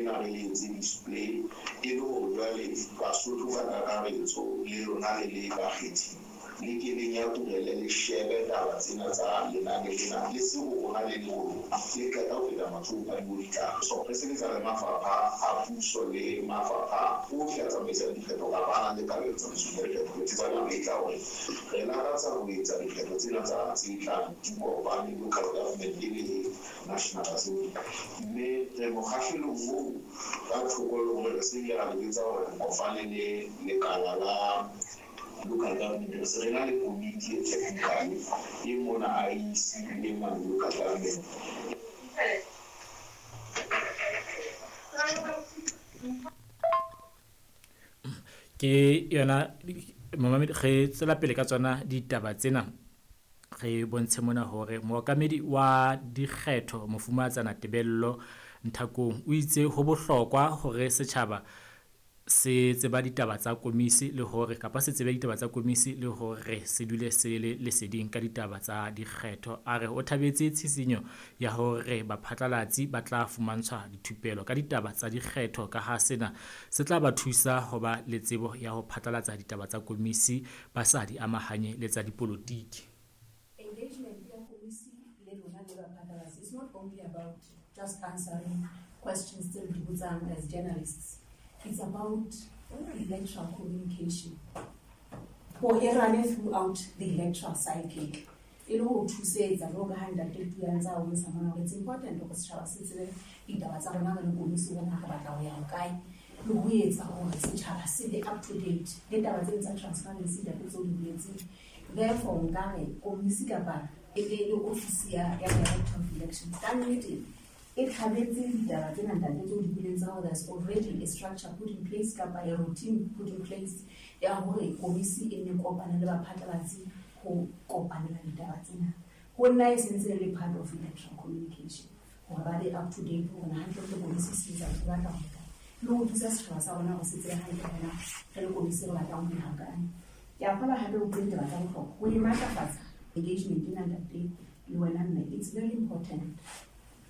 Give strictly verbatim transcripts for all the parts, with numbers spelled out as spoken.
Lena re le etse display e le hore jwale Basotho ka kakaretso le lona le le bakgethi le ke le nyakurele le shebe taba tsena tsa lenane lena le se ho rona le le ho lona le qeta ho feta matsohong a dibolitla. So re sebetsa le mafapha a puso le mafapha ohle a tsamaisang dikgetho kapa a nang le kabelo tsamaisong ya dikgetho. Re tsebana metla hore re lakatsa ho etsa dikgetho tsena tsa tse tlang di kopane local government le National Assembly, mme re mokgahlelong oo ka thoko le hore re se bile ra le jwetsa hore re kopane le lekala la local government. Re se re na le komiti e technical e mona I E C le mane local government. Ke yona momamedi, re tswela pele ka tsona ditaba tsena. Re bontshe mona hore mookamedi wa dikgetho Mofumahatsana Tebello Nthakong o itse ho bohlokwa hore setjhaba se tseba ditaba tsa komisi le hore kapa se tsebe ditaba tsa komisi le hore se dule se le leseding ka ditaba tsa dikgetho. A re o thabetse tshisinyo ya hore baphatlalatsi ba tla fumantshwa dithupelo ka ditaba tsa dikgetho ka ha sena se tla ba thusa ho ba le tsebo ya ho phatlalatsa ditaba tsa komisi ba sa di amahanye le tsa dipolotiki. Engagement ya komisi le lona le baphatlalatsi is not only about just answering questions tse re di botsang as journalists. It's about electoral communication. Coherent throughout the electoral cycle. E le ho thusetsa jwalo ka ha ntate Tuya ntse a bontsha mona hore it's important hore setjhaba se tsebe ditaba tsa rona re le komisi hore na re batla ho ya hokae, le ho etsa hore setjhaba se be up to date le taba tse tsa transparency ntate tseo di boletseng. Therefore nka re komisi kapa e le le office ya ya Director of Elections ka nnete e tlhabetse ditaba tsena ntate tseo di boletseng tsa hore there's already a structure put in place kapa a routine put in place ya hore komisi e nne kopane le baphatlalatsi ho kopanela ditaba tsena. Ho nna e sentse e le part of electoral communication hore ba be up to date hore na hantle le komisi se etsa e batla ho kae, le ho thusa setjhaba sa rona hore se tsebe hantle hore na re le komisi re batlang ho ya hokae. Ke a kgolwa hape o bue ditaba tsa bohlokwa ho e matlafatsa engagement ena ntate le wena mme, it's very important.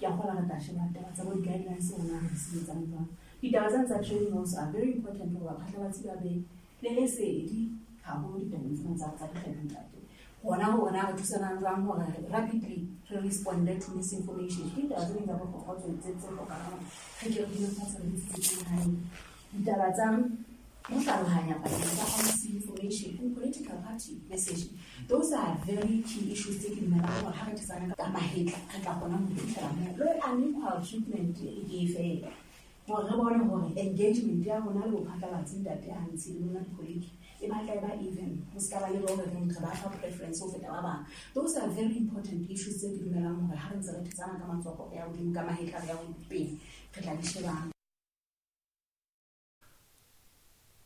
Ke a kgolwa re tla sheba taba tsa bo di-guidelines hore na re di sebetsang jwang. Ditaba tsena tsa training also are very important hore baphatlalatsi ba be le lesedi haholo ditabeng tsena tsa tsa dikgetho ntate. Hona hore na re thusanang jwang hore rapidly re responde to misinformation. Ke ditaba tse ding tsa bohlokwa tse tse tse hlokahalang re ke re dule fatshe re di tsitsitse hantle. Ditaba tsa ho hlalohanya pakeng tsa misinformation and political party messaging, those are very key issues tse ke dumelang hore ha re thetsana ka mahetla re tla kgona ho fihlela moo. Le unequal treatment e ke e fela hore re bone hore engagement ya rona le bophatlalatsi ntate ha ntse le lona di-colleague e batla e ba even, ho se ka ba le hore re re ba fa preference ho feta ba bang. Those are very important issues tse ke dumelang hore ha re ntse re thetsana ka matsoho ya hodimo ka mahetla re ya pele re tla di shebang.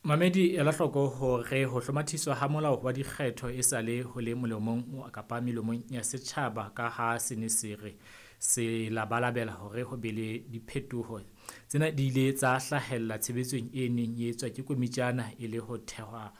Mamedi, ela hloko hore ho hlomathiswa ha molao wa dikgetho e sale ho le molemong kapa melomong ya setjhaba ka ha se ne se re se labalabela hore ho be le diphetoho. Tsena di ile tsa hlahella tshebetsong e neng e etswa ke komitjana e le ho thehwa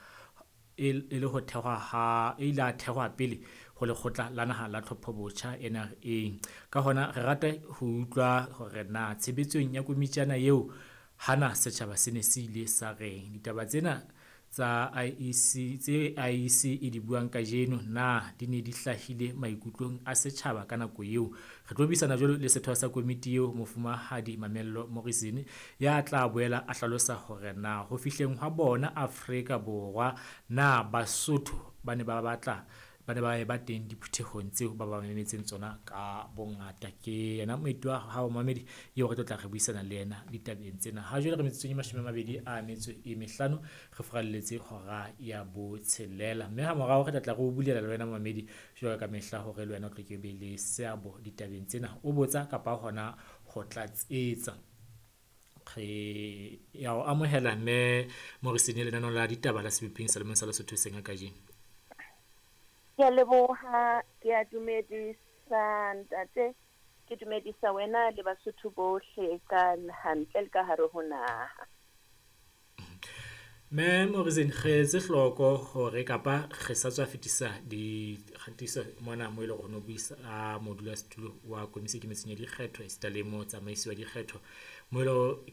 e le ho thehwa ha e ile a thehwa pele ho lekgotla la naha la tlhopho botjha N R A. Ka hona re rata ho utlwa hore na tshebetsong ya komitjana eo hana setjhaba se ne se ile sa reng. Ditaba tsena tsa I E C tse I E C e di buang kajeno na di ne di hlahile maikutlong a setjhaba ka nako eo. Re tlo buisana jwalo le setho sa komiti eo Mofumahadi Mamello Morrison ya tla boela a hlalosa hore na ho fihleng hwa bona Afrika Borwa na Basotho ba ne ba batla ba ne ba ba teng diphuthehong tseo ba ba memetseng tsona ka bongata. Ke yena moeti wa hao mamedi eo re tlo tla re buisana le yena ditabeng tsena. Ha jwale re metsotsong e mashome a mabedi a metso e mehlano re furalletse hora ya botshelela, mme ha morao re tla tla re o bulela le wena mamedi jwalo ka mehla hore le wena o tlo ke be le seabo ditabeng tsena, o botsa kapa hona ho tlatsetsa. Re ya o amohela mme Morrison lenaneo la ditaba la Seboping sa Lemong sa Lesotho seng ka kajeno. Ke a leboha, ke a dumedisa ntate, ke dumedisa wena le Basotho bohle ka hantle le ka hare ho naha. Mme Morrison, re etse hloko hore kapa re sa tswa fetisa dikgatiso mona mo e leng hore no buisa a modulasetulo wa komisi e ikemetseng ya dikgetho esita le motsamaisi wa dikgetho mo e leng